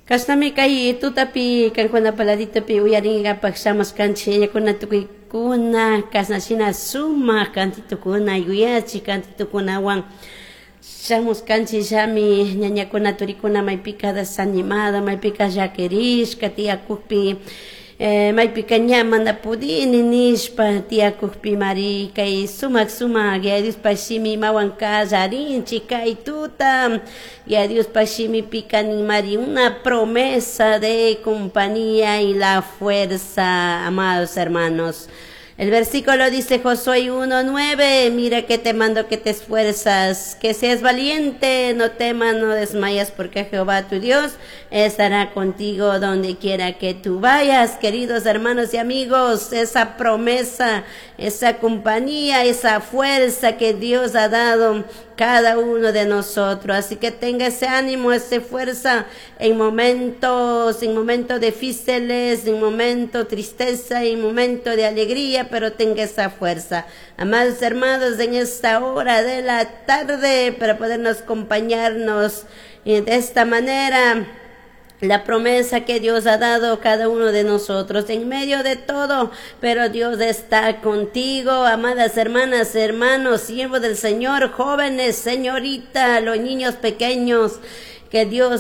Kashnami kay tutapi kankuna paladitopi uyarinkapak shamushkanchik yayakuna tukuykuna kashna shina sumak kantitukuna yuyachik kantitukunawan shamushkanchik llami ñañakuna turikuna maypika desanimada maypika llakirishka tiyakukpi maypika ña mana pudini nishpa tiyakukpimari kay sumak sumak Yaya Diospak shimi imawan kallarinchik kay tuta. Yaya Diospak shimipika ninmari una promesa de compañía y la fuerza, amados hermanos. El versículo dice Josué 1:9, mira que te mando que te esfuerzas, que seas valiente, no temas, no desmayas, porque Jehová tu Dios estará contigo donde quiera que tú vayas. Queridos hermanos y amigos, esa promesa, esa compañía, esa fuerza que Dios ha dado cada uno de nosotros. Así que tenga ese ánimo, esa fuerza en momentos difíciles, en momentos tristeza, en momentos de alegría, pero tenga esa fuerza. Amados hermanos, en esta hora de la tarde, para podernos acompañarnos de esta manera, la promesa que Dios ha dado a cada uno de nosotros en medio de todo, pero Dios está contigo, amadas hermanas, hermanos, siervos del Señor, jóvenes, señorita, los niños pequeños, que Dios